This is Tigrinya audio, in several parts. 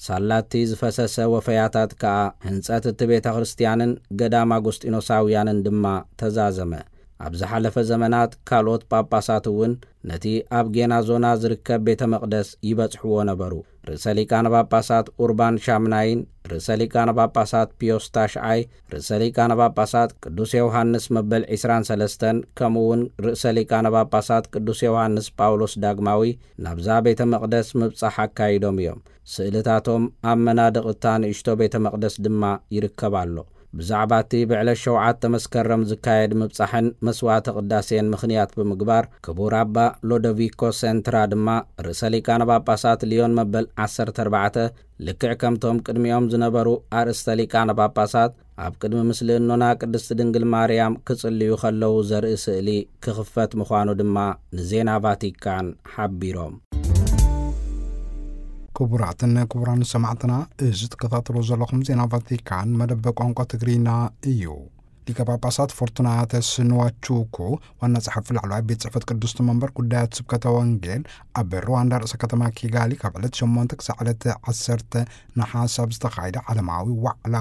ሳላቲ ዝፈሰሰ ወፈያታት ከኣ ህንጸት እቲ ቤተ ክርስቲያንን ገዳም ኣጉስጢኖሳውያንን ድማ ተዛዘመ። ኣብ ዝሓለፈ ዘመናት ካልኦት ጳጳሳት እውን ነቲ ኣብ ጌናዞና ዝርከብ ቤተ መቕደስ ይበጽሕዎ ነበሩ። ርእሰ ሊቃነ ጳጳሳት ኡርባን ሻምናይን፣ ርእሰ ሊቃነ ጳጳሳት ፒዮስ ታሽዓይ፣ ርእሰ ሊቃነ ጳጳሳት ቅዱስ ዮሃንስ መበል ዒስራን ሰለስተን፣ ከምኡ እውን ርእሰ ሊቃነ ጳጳሳት ቅዱስ ዮሃንስ ጳውሎስ ዳግማዊ ናብዛ ቤተ መቕደስ ምብጻሕ ኣካይዶም እዮም። ስእልታቶም ኣብ መናድቕ እታ ንእሽቶ ቤተ መቕደስ ድማ ይርከብ ኣሎ። ብዛዕባ እቲ ብዕለት ሸውዓተ መስከረም ዝካየድ ምብጻሕን መስዋዕተ ቅዳሴን ምኽንያት ብምግባር፣ ክቡር ኣባ ሎዶቪኮ ሴንትራ ድማ ርእሰ ሊቃነ ጳጳሳት ሊዮን መበል ዓሰርተ ኣርባዕተ፣ ልክዕ ከምቶም ቅድሚኦም ዝነበሩ ኣርእስተ ሊቃነ ጳጳሳት፣ ኣብ ቅድሚ ምስልእኖና ቅድስቲ ድንግል ማርያም ክጽልዩ ከለዉ ዘርኢ ስእሊ ክኽፈት ምዃኑ ድማ ንዜና ቫቲካን ሓቢሮም። ክቡራትን ክቡራን ሰማዕትና፣ እዚ ትከታተሎ ዘለኹም ዜና ቫቲካን መደብ ቋንቋ ትግርኛ እዩ። ሊቀ ጳጳሳት ፎርቱናተስ ንዋቹኩ፣ ዋና ጸሓፊ ላዕለዋይ ቤት ጽሕፈት ቅድስቲ መንበር ጉዳያት ስብከተ ወንጌል፣ ኣብ ሩዋንዳ ርእሰ ከተማ ኪጋሊ ካብ ዕለት ሸሞንተ ክሳዕ ዕለት ዓሰርተ ነሓሰ ኣብ ዝተኻየደ ዓለማዊ ዋዕላ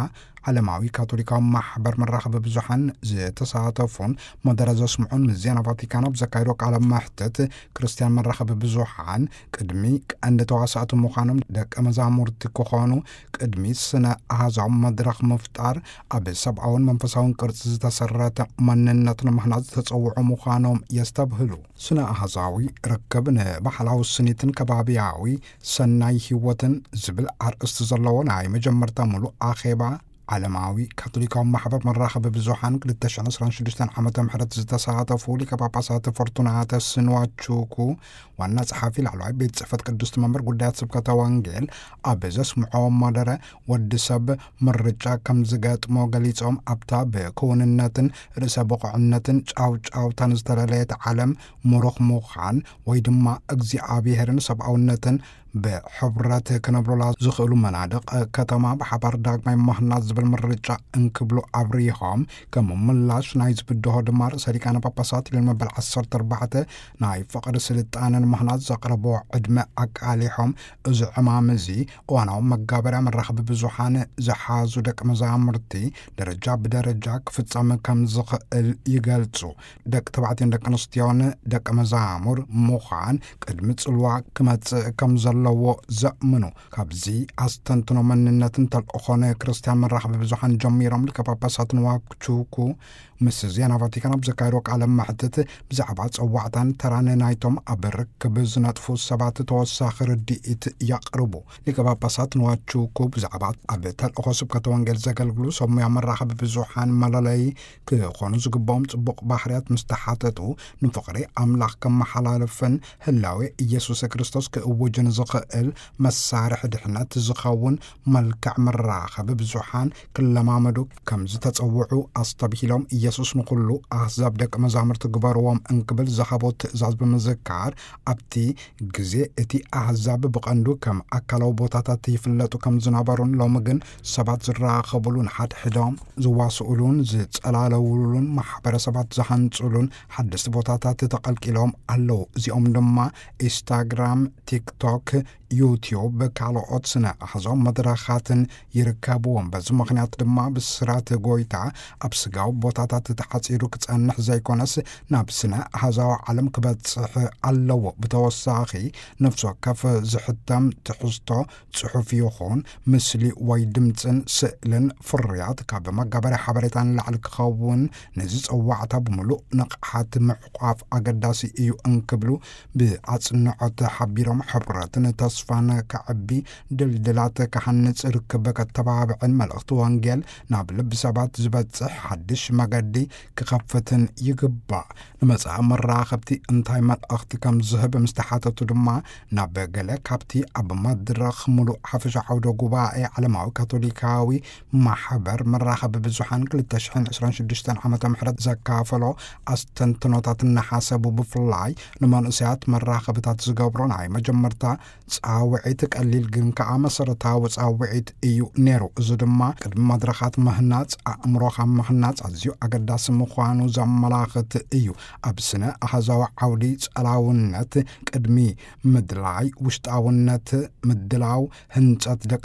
ዓለማዊ ካቶሊካዊ ማሕበር መራኸቢ ብዙሓን ዝተሳተፉን መደረ ዘስምዑን ምስ ዜና ቫቲካን ኣብ ዘካየዶ ቃለ መሕትት፣ ክርስትያን መራኸቢ ብዙሓን ቅድሚ ቀንዲ ተዋሳእቲ ምዃኖም ደቀ መዛሙርቲ ክኾኑ ቅድሚ ስነ ኣሃዛዊ መድረኽ ምፍጣር ኣብ ሰብኣውን መንፈሳውን ቅርጺ ዝተሰረተ መንነት ንምህናጽ ዝተጸውዑ ምዃኖም የስተብህሉ። ስነ ኣሃዛዊ ርክብ ንባህላዊ ስኒትን ከባቢያዊ ሰናይ ህይወትን ዝብል ኣርእስቲ ዘለዎ ናይ መጀመርታ ምሉእ ኣኼባ ዓለማዊ ካቶሊካዊ ማሕበር መራኸቢ ብዙሓን ክልተ ሽሕን ዕስራን ሽዱሽተን ዓመተ ምህረት ዝተሳተፉ ሊቀ ጳጳሳት ፎርቱናተስ ንዋቹኩ፣ ዋና ጸሓፊ ላዕለዋይ ቤት ጽሕፈት ቅድስቲ መንበር ጉዳያት ስብከተ ወንጌል፣ ኣብ ዘስምዖ መደረ፣ ወዲ ሰብ ምርጫ ከም ዝገጥሞ ገሊጾም፣ ኣብታ ብክውንነትን ርእሰ ብቑዕነትን ጫውጫውታን ዝተለለየት ዓለም ምሩኽ ምዃን ወይ ድማ እግዚኣብሔርን ሰብኣውነትን ብሕብረት ክነብሩላ ዝኽእሉ መናድቕ ከተማ ብሓባር ዳግማይ ምህናጽ ዝብል ምርጫ እንክብሉ ኣብሪሆም፣ ከም ምላሽ ናይዚ ብድሆ ድማ ርእሰ ሊቃነ ጳጳሳት ሊዮን መበል ዓሰርተ ኣርባዕተ ናይ ፍቕሪ ስልጣነ ንምህናጽ ዘቕረብዎ ዕድመ ኣቃሊሖም፣ እዚ ዕማም እዚ እዋናዊ መጋበርያ መራኸቢ ብዙሓን ዝሓዙ ደቂ መዛሙርቲ ደረጃ ብደረጃ ክፍጸም ከም ዝኽእል ይገልጹ። ደቂ ተባዕትዮን ደቂ ኣንስትዮን ደቂ መዛሙር ምዃን ቅድሚ ጽልዋ ክመጽእ ከም ዘለዎ ዘእምኑ፣ ካብዚ ኣስተንትኖ መንነትን ተልእኾን ክርስትያን መራኸቢ ብዙሓን ጀሚሮም፣ ሊቀ ጳጳሳት ንዋቹኩ ምስ ዜና ቫቲካን ኣብ ዘካየዶ ቃለ መሕትት፣ ብዛዕባ ጸዋዕታን ተራን ናይቶም ኣብ ርክብ ዝነጥፉ ሰባት ተወሳኺ ርድኢት የቕርቡ። ሊቀ ጳጳሳት ንዋቹኩ ብዛዕባ ኣብ ተልእኾ ስብከተ ወንጌል ዘገልግሉ ሰብ ሞያ መራኸቢ ብዙሓን መለለዪ ክኾኑ ዝግባኦም ጽቡቕ ባህርያት ምስ ተሓተቱ፣ ንፍቕሪ ኣምላኽ ከመሓላልፍን ህላዌ ኢየሱስ ክርስቶስ ክእውጅን ዝኽእል መሳርሒ ድሕነት ዝኸውን መልክዕ መራኸቢ ብዙሓን ክለማመዱ ከም ዝተጸውዑ ኣስተብሂሎም፣ ኢየሱስ ንኹሉ ኣህዛብ ደቂ መዛሙርቲ ግበርዎም እንክብል ዝሃቦ ትእዛዝ ብምዝካር፣ ኣብቲ ግዜ እቲ ኣህዛብ ብቐንዱ ከም ኣካላዊ ቦታታት ይፍለጡ ከም ዝነበሩን፣ ሎሚ ግን ሰባት ዝራኸቡሉን ሓድሕዶም ዝዋስኡሉን ዝጸላለውሉን ማሕበረሰባት ዝሃንጹሉን ሓደስቲ ቦታታት ተቐልቂሎም ኣለዉ። እዚኦም ድማ ኢንስታግራም፣ ቲክቶክ፣ ዩቲዩብ፣ ካልኦት ስነ ኣሕዛዊ መድረኻትን ይርከብዎም። በዚ ምኽንያት ድማ ብስራት ጎይታ ኣብ ስጋዊ ቦታታት ተሓጺሩ ክጸንሕ ዘይኮነስ፣ ናብ ስነ ኣሕዛዊ ዓለም ክበጽሕ ኣለዎ። ብተወሳኺ፣ ነፍሲ ወከፍ ዝሕተም ትሕዝቶ፣ ጽሑፍ ይኹን ምስሊ ወይ ድምጽን ስእልን ፍርያት ካብ መጋበርያ ሓበሬታ ንላዕሊ ክኸውን፣ ነዚ ጸዋዕታ ብምሉእ ንቕሓት ምዕቋፍ ኣገዳሲ እዩ እንክብሉ ብኣጽንዖት ሓቢሮም፣ ሕብረትን ተስፋን ከዕቢ፣ ድልድላት ክሃንጽ፣ ርክብ ከተባብዕን መልእኽቲ ወንጌል ናብ ልቢ ሰባት ዝበጽሕ ሓድሽ መገዲ ክኸፍትን ይግባእ። ንመጻኢ መራኸብቲ እንታይ መልእኽቲ ከም ዝህብ ምስ ተሓተቱ ድማ፣ ናብ ገለ ካብቲ ኣብ መድረኽ ምሉእ ሓፈሻ ዓውደ ጉባኤ ዓለማዊ ካቶሊካዊ ማሕበር መራኸቢ ብዙሓን ክልተ ሽሕን ዕስራን ሽዱሽተን ዓመተ ምህረት ዘካፈሎ ኣስተንትኖታት እናሓሰቡ፣ ብፍላይ ንመንእሰያት መራኸብታት ዝገብሮ ናይ መጀመርታ ጻውዒት ቀሊል ግን ከኣ መሰረታዊ ጻውዒት እዩ ነይሩ። እዚ ድማ ቅድሚ መድረኻት ምህናጽ፣ ኣእምሮኻ ምህናጽ ኣዝዩ ኣገዳሲ ምዃኑ ዘመላኽት እዩ። ኣብ ስነ ኣሃዛዊ ዓውዲ ጸላውነት ቅድሚ ምድላይ ውሽጣውነት ምድላው ህንጸት ደቂ